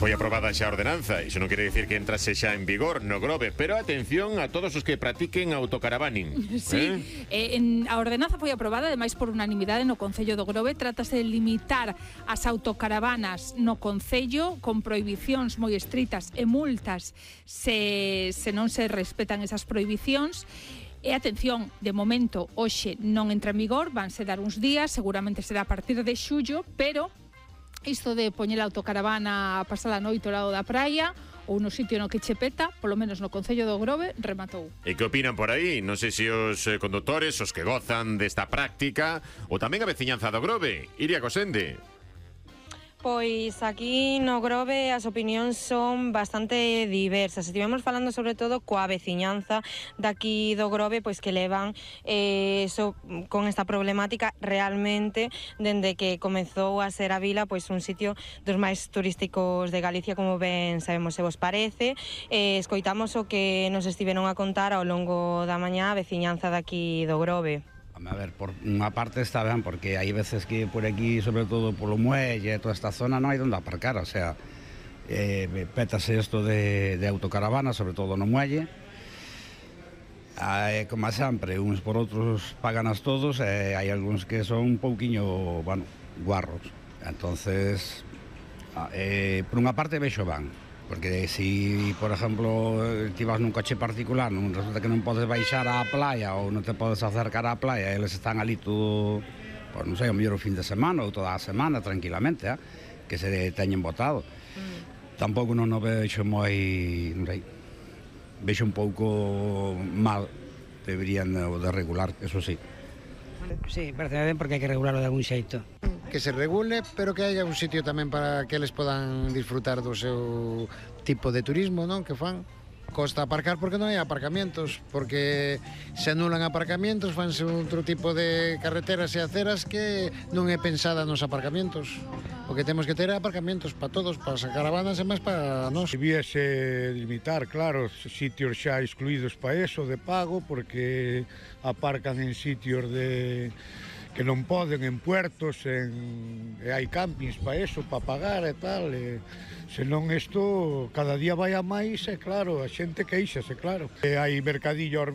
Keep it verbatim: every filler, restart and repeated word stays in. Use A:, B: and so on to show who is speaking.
A: Foi aprobada xa a ordenanza, iso non quere dicir que entrase xa en vigor no Grove, pero atención a todos os que practiquen autocaravaning.
B: Sí, eh? Eh, en, a ordenanza foi aprobada ademais por unanimidade no Concello do Grove. Trátase de limitar as autocaravanas no Concello con prohibicións moi estritas e multas se, se non se respetan esas prohibicións. E atención, de momento hoxe non entra en vigor, vanse dar uns días, seguramente será a partir de xullo, pero isto de poñer a autocaravana a pasar a noite ao lado da praia ou no sitio no que che peta, polo menos no Concello do Grove, rematou.
A: E que opinan por aí? Non sei se os eh, condutores, os que gozan desta práctica, ou tamén a veciñanza do Grove. Iria Cosende.
C: Pois aquí no Grove as opinións son bastante diversas. Estivemos falando sobre todo coa veciñanza daqui do Grove, pois que levan eh, so, con esta problemática realmente dende que comezou a ser a vila pois un sitio dos máis turísticos de Galicia, como ben sabemos se vos parece. Eh, escoitamos o que nos estiveron a contar ao longo da mañá a veciñanza daqui do Grove.
D: A ver, por unha parte está ben, porque hai veces que por aquí, sobre todo polo muelle e toda esta zona, non hai onde aparcar, o sea, eh, pétase isto de, de autocaravana, sobre todo no muelle. Eh, como sempre, uns por outros paganas todos, e eh, hai algúns que son un pouquiño, bueno, guarros. Entonces, eh, por unha parte vexo ben, porque si, por exemplo, ti vas nun coche particular, non resulta que non podes baixar á playa ou non te podes acercar á playa, eles están ali todo, pues, non sei, o mellor o fin de semana ou toda a semana, tranquilamente, eh, que se teñen botado. Mm. Tampouco non o vexo moi, non sei, vexo un pouco mal, deberían de regular, eso sí.
E: Sí, parece ben porque hai que regularlo de algún xeito.
F: Que se regule, pero que haya un sitio tamén para que eles podan disfrutar do seu tipo de turismo, non? Que fan. Costa aparcar porque non hai aparcamientos, porque se anulan aparcamientos, fanse outro tipo de carreteras e aceras que non é pensada nos aparcamientos. O que temos que ter é aparcamientos para todos, para as caravanas e máis para nós.
G: Debiese limitar, claro, sitios xa excluídos para eso, de pago, porque aparcan en sitios de que non poden, en puertos, en, e hai campings para eso, para pagar e tal, e, senón isto cada día vai a máis, e claro, a xente queixase, claro. E hai mercadillo aos